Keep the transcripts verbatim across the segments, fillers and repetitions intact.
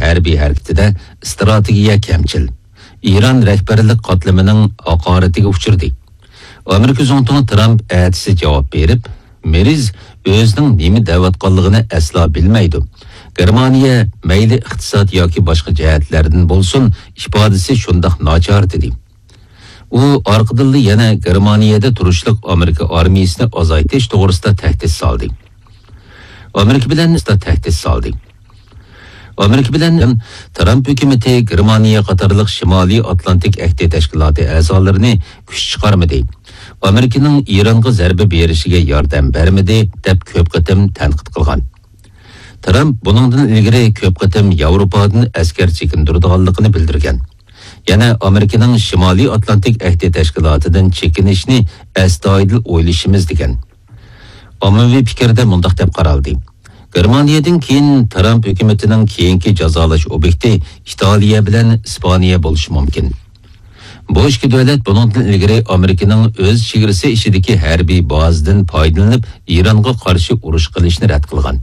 ھەربىي ھەرىكىتىدە ئىستراتېگىيە كەمچىل، ئىران رەھبەرلىك قاتلىمىنىڭ ھاقارىتىگە ئۇچرىدى. ئامېرىكا زۇڭتۇڭى ترامپ ئەتىسى جاۋاب بېرىپ، مېرىز ئۆزىنىڭ نېمە دەۋاتقانلىقىنى ئەسلا بىلمەيدۇ. گېرمانىيە مەيلى ئىقتىساد ياكى باشقا جەھەتلەردىن بولسۇن، ئىپادىسى شۇنداق ناچار، دېدى. ئۇ ئارقىدىنلا يەنە گېرمانىيەدە تۇرۇشلۇق ئامېرىكا ئارمىيىسىنى ئازايتىش توغرىسىدا تەھدىت سالدى. ئامېرىكا بىلەن تەھدىت سالدى. ئامېرىكا بىلەن ترامپ ھۆكۈمىتى گېرمانىيە قاتارلىق شىمالىي ئاتلانتىك ئەھدى تەشكىلاتى ئەزالىرىنى كۈچ چىقارمىدى. ئامېرىكىنىڭ ئىرانغا زەربە بېرىشىگە ياردەم بەرمىدى، دەپ كۆپ قېتىم تەنقىد قىلغان. ترامپ بۇنىڭدىن ئىلگىرى كۆپ قېتىم ياۋروپادىن ئەسكەر چېكىندۈرىدىغانلىقىنى بىلدۈرگەن. يەنە ئامېرىكىنىڭ شىمالىي ئاتلانتىك ئەھدى تەشكىلاتىدىن چېكىنىشنى ئەستايىدىل ئويلىشىمىز، دېگەن. ئاممىۋى پىكىردە مۇنداق دەپ قارالدى: گېرمانىيەدىن كېيىن ترامپ ھۆكۈمىتىنىڭ كېيىنكى جازالاش ئوبيېكتى ئىتالىيە بىلەن ئىسپانىيە بولۇشى مۇمكىن. بۇ ئىككى دۆلەت بۇنىڭدىن ئىلگىرى ئامېرىكىنىڭ ئۆز چېگرىسى ئىچىدىكى ھەربىي بازىدىن پايدىلىنىپ، ئىرانغا قارشى ئۇرۇش قىلىشنى رەت قىلغان.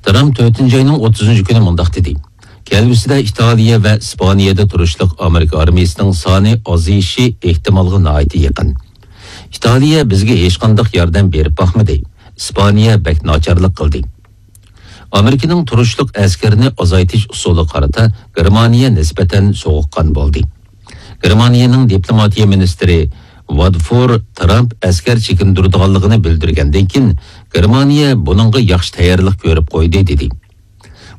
ترامپ تۆتىنچى ئاينىڭ ئوتتۇزىنچى كۈنى مۇنداق دېدى: كەلگۈسىدە ئىتالىيە ۋە ئىسپانىيەدە تۇرۇشلۇق ئامېرىكا ئارمىيىسىنىڭ سانى ئازىيىشى ئېھتىمالغا ناھايىتى يېقىن. ئىتالىيە بىزگە ھېچقانداق ياردەم بېرىپ باقمىدى. ئىسپانىيە بەك ناچارلىق قىلدى. ئامېرىكىنىڭ تۇرۇشلۇق ئەسكەرنى ئازايتىش ئۇسۇلىغا قارىتا گېرمانىيە نىسبەتەن سوغۇققان بولدى. گېرمانىيەنىڭ دىپلوماتىيە مىنىستىرى ۋادفور ترامپ ئەسكەر چېكىندۈرىدىغانلىقىنى بىلدۈرگەندىن كېيىن، گېرمانىيە بۇنىڭغا ياخشى تەييارلىق كۆرۈپ قويدى، دېدى.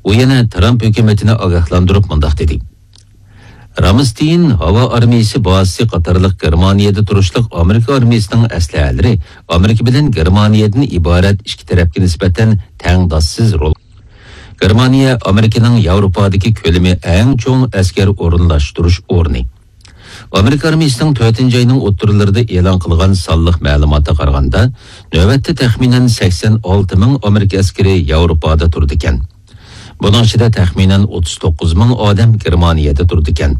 ئۇ يەنە ترامپ ھۆكۈمىتىنى ئاگاھلاندۇرۇپ مۇنداق دېدى: رامستېين ھاۋا ئارمىيىسى بازىسى قاتارلىق گېرمانىيەدە تۇرۇشلۇق ئامېرىكا ئارمىيىسىنىڭ ئەسلىھەلىرى ئامېرىكا بىلەن گېرمانىيەدىن ئىبارەت ئىككى تەرەپكە نىسبەتەن تەڭداشسىز رول. گېرمانىيە ئامېرىكىنىڭ ياۋروپادىكى كۆلىمى ئەڭ چوڭ ئەسكەر ئورۇنلاشتۇرۇش ئورنى. ئامېرىكا ئارمىيىسىنىڭ تۆتىنچى ئاينىڭ ئوتتۇرىلىرىدا ئېلان قىلغان سانلىق مەلۇماتىغا قارىغاندا، نۆۋەتتە تەخمىنەن سەكسەن ئالتە مىڭ ئامېرىكا ئەسكىرى ياۋروپادا تۇرىدىكەن. بۇنىڭ ئىچىدە تەخمىنەن ئوتتۇز توققۇز مىڭ ئادەم گېرمانىيەدە تۇرىدىكەن.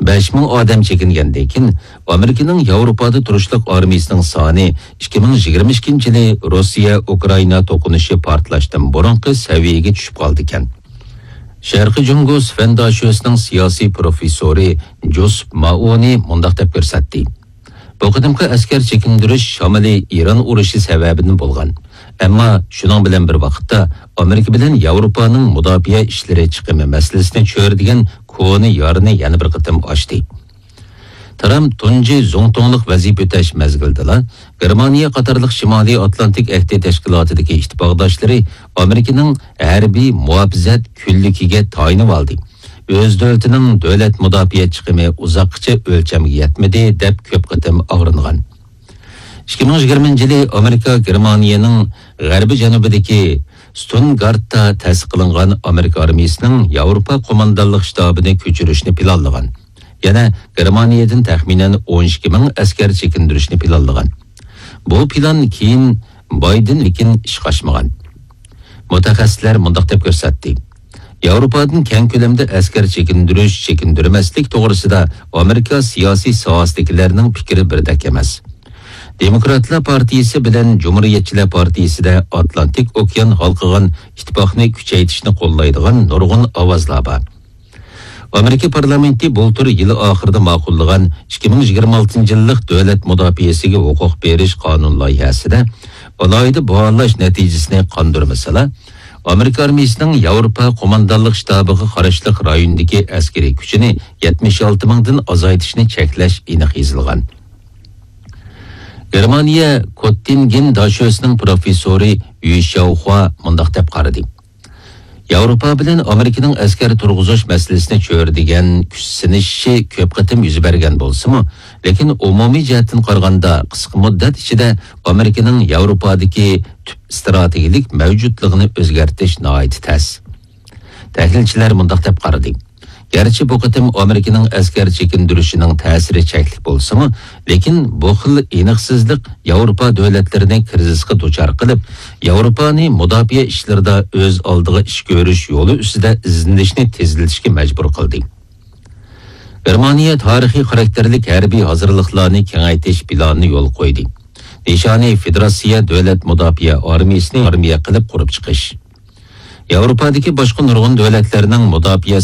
بەش مىڭ ئادەم چېكىنگەندىن كېيىن، ئامېرىكىنىڭ ياۋروپادا تۇرۇشلۇق ئارمىيىسىنىڭ سانى ئىككى مىڭ يىگىرمە ئىككىنچى يىلى روسىيە ئۇكرائىنا توقۇنۇشى پارتلاشتىن بۇرۇنقى سەۋىيەگە چۈشۈپ قالىدىكەن. شەرقىي جۇڭگو سفەن داشۆسىنىڭ سىياسىي پروفېسسورى جوسېپ مائونى مۇنداق دەپ كۆرسەتتى: بۇ قېتىمقى ئەسكەر چېكىندۈرۈش شامىلى ئىران ئۇرۇشى سەۋەبىدىن بولغان. ئەمما شۇنىڭ بىلەن بىر ۋاقىتتا، ئامېرىكا بىلەن ياۋروپانىڭ مۇداپىئە ئىشلىرى چىقىمى مەسىلىسىنى چۆرىدىگەن كونا يارىنى يەنە بىر قېتىم ئاچتى. ترامپ تۇنجى زۇڭتۇڭلۇق ۋەزىپە ئۆتەش مەزگىلىدىلا، گېرمانىيە قاتارلىق شىمالىي ئاتلانتىك ئەھدى تەشكىلاتىدىكى ئىتتىپاقداشلىرى ئامېرىكىنىڭ ھەربىي مۇھاپىزەت كۈنلۈكىگە تايىنىۋالدى. ئۆز دۆلىتىنىڭ دۆلەت مۇداپىئە چىقىمى ئۇزاققىچە ئۆلچەمگە يەتمىدى، دەپ كۆپ قېتىم ئاغرىنغان. ئىككى مىڭ يىگىرمىنچى يىلى ئامېرىكا گېرمانىيەنىڭ غەربىي جەنۇبىدىكى ستۇتگارتتا تەسىس قىلىنغان ئامېرىكا ئارمىيىسىنىڭ ياۋروپا قوماندانلىق شتابىنى كۆچۈرۈشنى پىلانلىغان. يەنە گېرمانىيەدىن تەخمىنەن ئون ئىككى مىڭ ئەسكەر چېكىندۈرۈشنى پىلانلىغان. بۇ پىلان كېيىن بايدىن لېكىن ئىشقا ئاشمىغان. مۇتەخەسسىسلەر مۇنداق دەپ كۆرسەتتى: ياۋروپادىن كەڭ كۆلەمدە ئەسكەر چېكىندۈرۈش، چېكىندۈرمەسلىك توغرىسىدا ئامېرىكا سىياسىي ساھەسىدىكىلەرنىڭ پىكرى بىردەك ئەمەس. دېموكراتلار پارتىيىسى بىلەن جۇمھۇرىيەتچىلەر پارتىيىسىدە ئاتلانتىك ئوكيان ھالقىغان ئىتتىپاقنى كۈچەيتىشنى قوللايدىغان نۇرغۇن ئاۋازلار بار. ئامېرىكا پارلامېنتى بۇلتۇر يىل ئاخىرىدا ماقۇللىغان ئىككى مىڭ يىگىرمە ئالتىنچى يىللىق دۆلەت مۇداپىئەسىگە ھوقۇق بېرىش قانۇن لايىھەسىدە ئالاھىدە باھالاش نەتىجىسىنى قاندۇرمىسىلا، ئامېرىكا ئارمىيىسىنىڭ ياۋروپا قوماندانلىق شتابىغا قاراشلىق رايوندىكى ئەسكىرىي كۈچىنى يەتمىش ئالتە مىڭدىن ئازايتىشنى چەكلەش ئېنىق يېزىلغان. گېرمانىيە كوتتىنگېن داشۆسىنىڭ پروفېسسورى يۈ شياۋخۇا مۇنداق دەپ قارىدى: ياۋروپا بىلەن ئامېرىكىنىڭ ئەسكەر تۇرغۇزۇش مەسىلىسىنى چۆرىدىگەن كۈچ سىنىشىشى كۆپ قېتىم يۈز بەرگەن بولسىمۇ، لېكىن ئومۇمىي جەھەتتىن قارىغاندا، قىسقا مۇددەت ئىچىدە ئامېرىكىنىڭ ياۋروپادىكى تۈپ ئىستراتېگىيەلىك مەۋجۇتلۇقىنى ئۆزگەرتىش ناھايىتى تەس. تەھلىلچىلەر مۇنداق دەپ قارىدى: گەرچە بۇ قېتىم ئامېرىكىنىڭ ئەسكەر چېكىندۈرۈشىنىڭ تەسىرى چەكلىك بولسىمۇ، لېكىن بۇ خىل ئېنىقسىزلىق ياۋروپا دۆلەتلىرىنى كىرىزىسقا دۇچار قىلىپ، ياۋروپانى مۇداپىئە ئىشلىرىدا ئۆز ئالدىغا ئىش كۆرۈش يولى ئۈستىدە ئىزدىنىشنى تېزلىتىشكە مەجبۇر قىلدى. گېرمانىيە تارىخىي خاراكتېرلىك ھەربىي ھازىرلىقلارنى كېڭەيتىش پىلانىنى يولغا قويدى. نىشانى فېدېراتسىيە دۆلەت مۇداپىئە ئارمىيىسىنى ئارمىيە قىلىپ قۇرۇپ چىقىش. ياۋروپادىكى باشقا نۇرغۇن دۆلەتلەرنىڭ مۇداپىئە